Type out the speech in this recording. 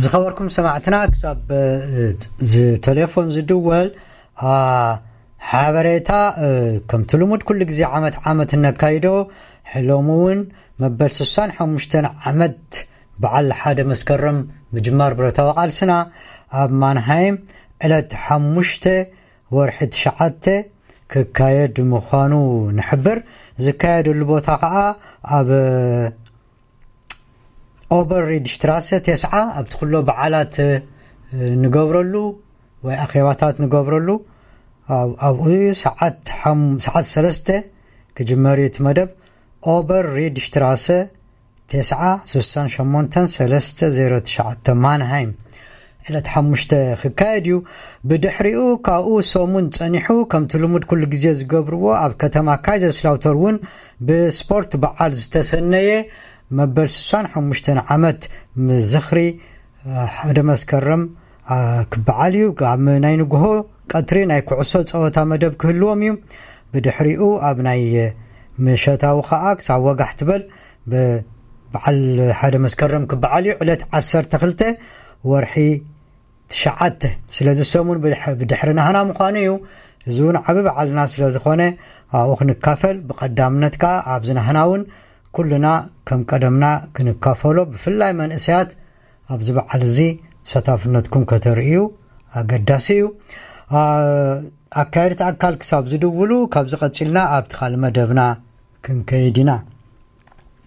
ዝኸበርኩም ሰማዕትና፣ ክሳብ ቴሌፎን ዝድወል ሓበሬታ፣ ከምቲ ልሙድ ኩሉ ግዜ ዓመት ዓመት እነካይዶ፣ ሕሎሚ እውን መበል ስሳን ሓሙሽተን ዓመት በዓል ሓደ መስከረም ምጅማር ብረታዊ ቃልስና ኣብ ማንሃይም ዕለት ሓሙሽተ ወርሒ ትሽዓተ ክካየድ ምዃኑ ንሕብር። ዝካየደሉ ቦታ ከዓ ኣብ ኦበር ሪድሽትራሰ ተስዓ፣ ኣብቲ ኩሎ በዓላት ንገብረሉ ወይ ኣኼባታት ንገብረሉ ኣብኡ ሰዓት ሰዓት ሰለስተ ክጅመር እዩ እቲ መደብ። ኦበር ሪድሽትራሰ ተስዓ ስሳን ሸሞንተን ሰለስተ ዜሮ ትሽዓተ ማንሃይም ዕለት ሓሙሽተ ክካየድ እዩ። ብድሕሪኡ ካብኡ ሰሙን ጸኒሑ ከምቲ ልሙድ ኩሉ ግዜ ዝገብርዎ ኣብ ከተማ ካይዘርስላውተር እውን ብስፖርት በዓል ዝተሰነየ መበል ስሳን ሓሙሽተን ዓመት ምዝኽሪ ሓደ መስከረም ክበዓል እዩ። ኣብ ናይ ንግሆ ቀትሪ ናይ ኩዕሶ ጸወታ መደብ ክህልዎም እዩ። ብድሕሪኡ ኣብ ናይ ምሸታዊ ከዓ ክሳብ ወጋሕ ትበል ብበዓል ሓደ መስከረም ክበዓል እዩ። ዕለት ዓሰርተ ክልተ ወርሒ ትሽዓተ። ስለዚ ሰሙን ብድሕሪ ናህና ምዃኑ እዩ። እዚ እውን ዓቢ በዓልና ስለ ዝኾነ ኣብኡ ክንካፈል፣ ብቐዳምነት ከዓ ኣብዚ ናህና እውን ኩልና ከም ቀደምና ክንካፈሎ፣ ብፍላይ መንእሰያት ኣብዚ በዓል እዚ ተሳታፍነትኩም ከተርእዩ ኣገዳሲ እዩ። ኣካየድቲ ኣካል ክሳብ ዝድውሉ ካብዚ ቀጺልና ኣብቲ ካልእ መደብና ክንከይድ ኢና።